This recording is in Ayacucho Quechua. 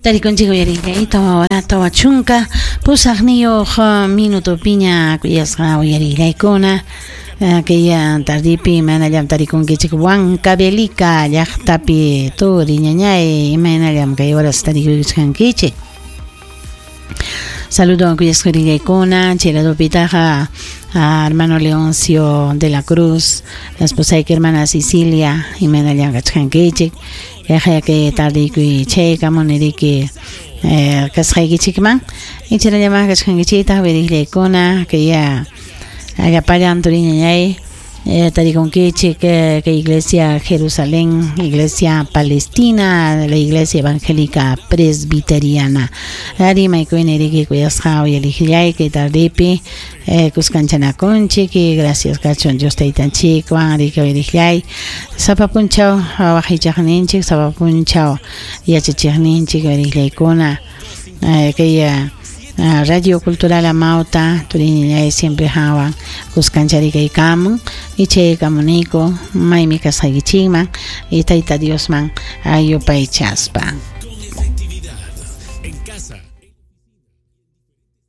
Tarikunchik uyarillay 4 40 8 minutopiña kuyasqa uyarillaykuna kay tardipi imaynallam tarikunkichik Huancavelica llaqtapi turi ñañay imaynallam kay horas tarikuchkankichik. Saludo kuyasqa uyarillaykuna chay ladupitaqa hermano Leoncio de la Cruz, la esposayki hermana Cecilia imaynallam kachkankichik. Kayqa kay tardiykuy chaykamuni riki kasqaykichikman icharallaman kachkankichiktaq uyariqllaykuna kay llapallan turi ñañay tarikunkichik kay iglesia Jerusalén, iglesia Palestina, la iglesia evangélica presbiteriana. Rimaykuyni riki kuyasqa uyariqllay kay tardipi kuskanchanakunchik y gracias kachun Dios taytanchikwan riki uyariqllay sapa punchaw waqaychaqninchik sapa punchaw yachachiqninchik uyariqllaykuna kay Radio Cultural Amauta turi ñañay siempre hawan kuskancharikaykamun y chaykamuniku maymi kasqaykichikman y Tayta Diosman yupaychaspa.